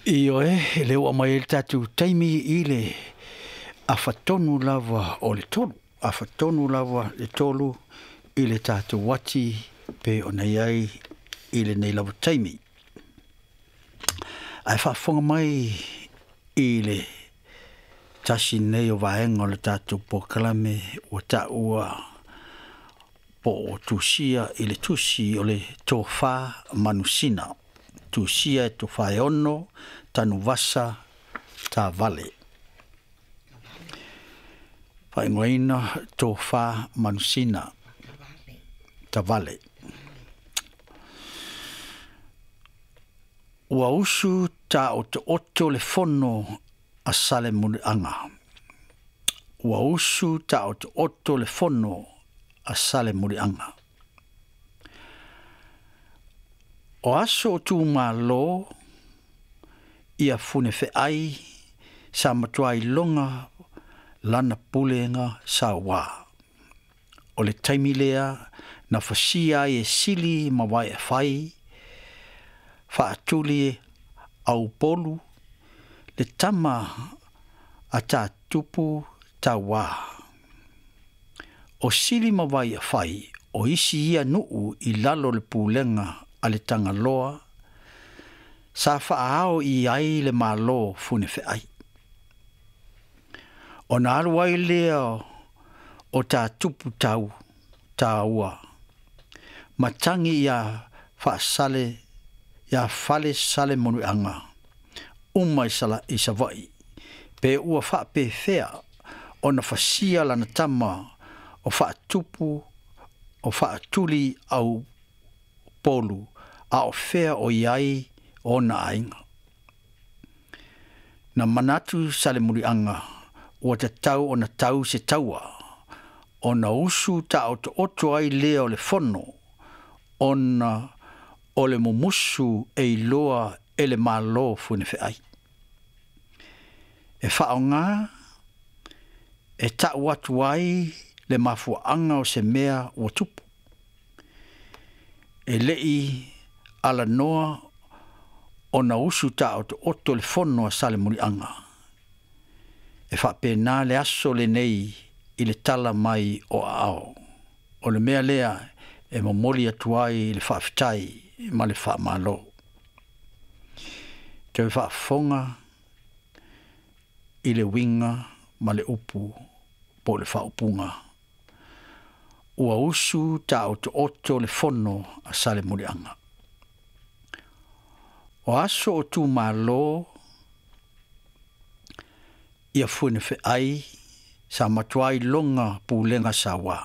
Ioe, e lea ua aumai ai le tatou taimi i le afatonu lava o le 3. Afatonu lava le 3 i le tatou ati pe ona i ai i lenei lava taimi. Ae faafofoga mai i le tasi nei o vaega o le tatou polokalame ua taua po o tusia i le tusi o le Tofa Manusina. Tusia e Tofaeono Tanuvasa Tavale. Faaigoaina Tofa Manusina Tavale. Ua usu taotooto le fono a Salemuliaga. Ua usu taotooto le fono a Salemuliaga. O aso o tumalo ia funefeai sa matua iloga lana pulega sauā. O le taimi lea na fasia ai e Sili ma Vaeafai faatuli Aupolu le tama a Tātupu Tauā. O Sili ma Vaiafai o isi ia nuu i lalo le pulega a le Tagaloa sa faaao i ai le Malo funefeai. Ona alu ai lea o Tātupu Taua matangi ia faasale ia fale Salemuliaga uma i Savaii pe ua faapefea ona fasia lana tama o faatupu o faatuli au polu a o fea o i ai ona aiga. Na manatu Salemuliaga ua tatau ona tau se taua ona usu taotooto ai lea o le fono ona o le mumusu e iloa e le Malo funefeai. E faaaoga e tau atu ai le mafuaaga o se mea ua tupu. E lei alanoa ona usu taotooto le fono a Salemuliaga. E faapena le aso lenei i le tala mai o aao. O le mea lea e momoli atu ai le faafetai ma le faamalo. Toe faafofoga i le uiga ma le upu po o le faaupuga. Ua usu taotooto le fono a Salemuliaga. O aso o tumalo ia funefeai sa matua iloga pulega sauā.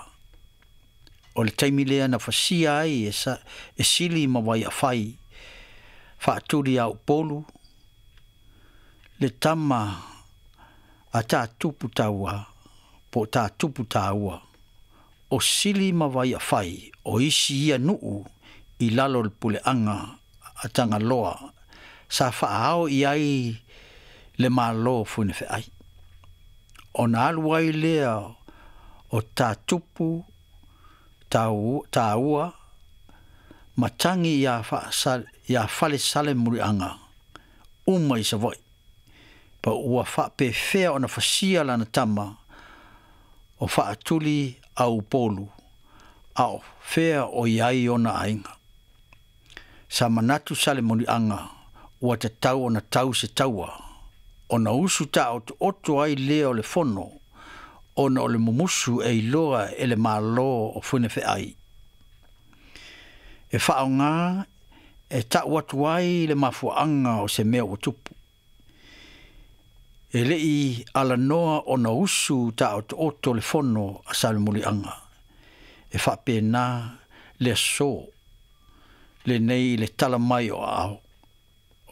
O le taimi lea na fasia ai e Sili ma Vaiafai faatuli a Upolu le tama a Tātupu Taua po o Tātupu Taua o Sili ma Vaiafai o isi ia nuu i lalo le puleaga a Tagaloa sa faaao i ai le Malo funefeai. Ona alu ai lea o Tātupu Taua matangi ia fale Salemuliaga uma i Savaii. Pa ua faapefea ona fasia lana tama o faatuli Aupolu a o fea o i ai ona aiga. Sa manatu Salemuliaga ua tatau ona tau se taua ona usu taotooto ai lea o le fono ona o le mumusu e iloa e le Malo o funefeai. E faaaoga e tau atu ai le mafuaaga o se mea ua tupu. E lei alanoa ona usu taotooto le fono a Salemuliaga. E faapena le aso lenei i le tala mai o aao.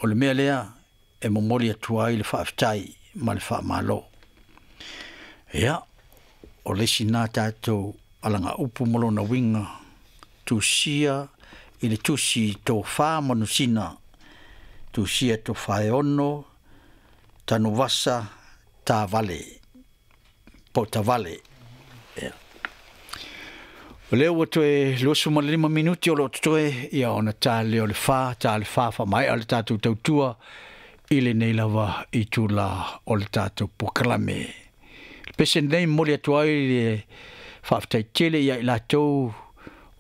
O le mea lea e momoli atu ai le faafetai ma le faamalo. Ia, o le isi na tatou alagaupu ma lona uiga tusia i le tusi Tofa Manusina, tusia Tofaeono Tanuvasa Tavale, po Tavale. Ia. O lea ua toe 25 minuti o lo o totoe ia ona ta lea o le 4, ta le 4 faamaea le tatou tautua I lenei lava itula o le tatou polokalame. Le pese lenei e momoli atu ai le faafetai tele ia i latou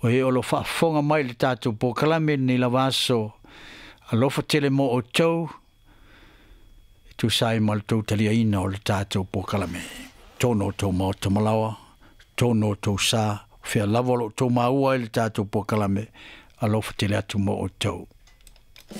o e o lo o faafofoga mai i le tatou polokalame i lenei lava aso. Alofa tele mo outou e tusa ai ma le tou taliaina o le tatou polokalame. Tonu o tou maota malaoa, tonu o tou sa, o fea lava o lo o outou maua ai le tatou polokalame, alofa tele atu mo outou.